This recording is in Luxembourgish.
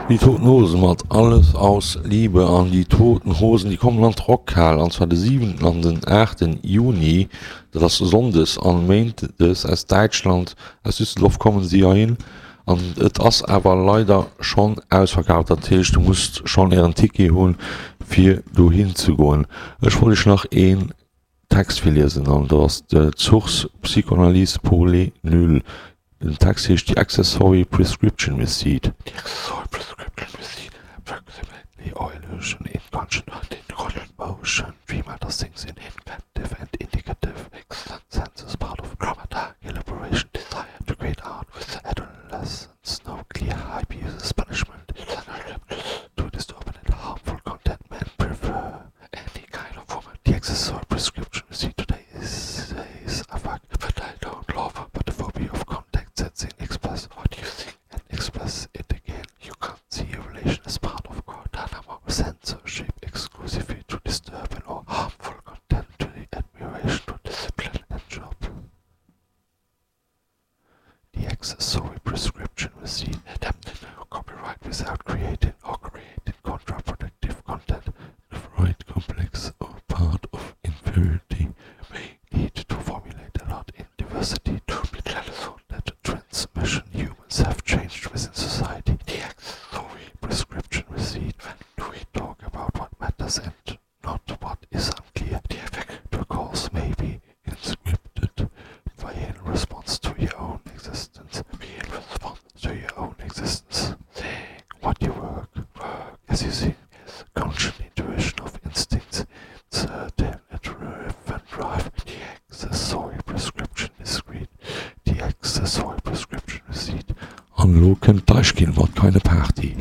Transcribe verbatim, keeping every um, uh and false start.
Die Toten Hosen mat Alles aus Liebe an Die Toten Hosen déi kommen an d'Rockhal an zwar de siwenten an den aachten Juni, dat ass Sonndes an Méindes aus Däitschland, aus Düsseldorf kommen si heihin an et ass awer leider schonn ausverkaaft, dat heescht du musst schonn ären Ticket hunn fir dohin ze goen. Ech wollt iech nach een Text virliesen an dat ass d'Source Psychoanalyse pour les nuls. Den Text heescht The Accessory Prescription Receipt. The Accessory Prescription Receipt Approximately or illusion in conscious in motion Female does things in inventive and indicative senses part of grammar elaboration desire to create art with adolescence no clear hype uses punishment to disturb and harmful content men prefer any kind of woman. The accessory prescription receipt today is, is a fuck, but I don't love, but the phobia of contact sets in express what you think and express it again. You can't see a relation as part of Guantanamo censorship exclusively to disturbing or harmful content to the admiration to discipline and job. The accessory prescription receipt adapted copyright without creating or creating counterproductive content. The Freud complex or part of inferiority may need to formulate a lot in diversity to be that transmission humans have changed within society. The accessory prescription receipt when we talk about what matters and not what is unclear. The effect to cause may be inscripted by in response to your own existence. Be in response to your own existence. Saying what you work, work as you see is conscious intuition of instincts, certain and drive. The accessory prescription discreet. The accessory prescription receipt. An elo kënnt d'Deichkind mat Keine Party.